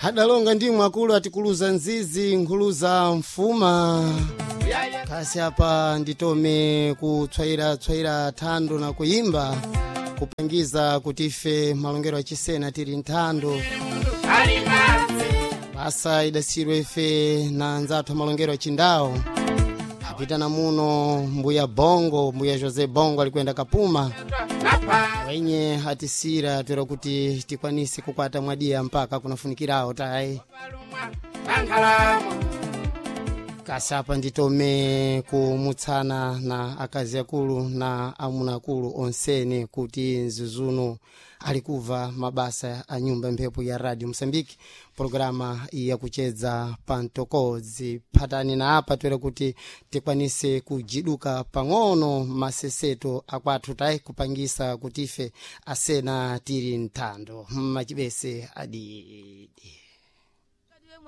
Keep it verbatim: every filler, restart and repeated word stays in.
Hadalonga ndimwe akulu atikuluza nzizi nkhuluza mfuma. Kasi apa nditome kutswayira-tswayira thando na kuyimba kupangiza kuti ife malongero achisena tili nthando. Basa idasirwe ife na anzathu amalongero achindawo apitana muno mbuya Bongo, mbuya Jose Bongo alikwenda kapuma wenye atisira twera kuti tikwanise kukwata mwadiya mpaka kunafunikirawo tayi. Kasi apa nditome kumutsana na akazi akulu na amuna akulu onsene kuti nzizuno alikuva mabasa a nyumba mphepo ya Radio Mosambiki, programa yakuchedza pantokodzi. Phatani na apa twere kuti tikwanise kujiduka pang'ono maseseto akwathu tayi kupangisa kuti ife asena tili nthando mmachibese adidi.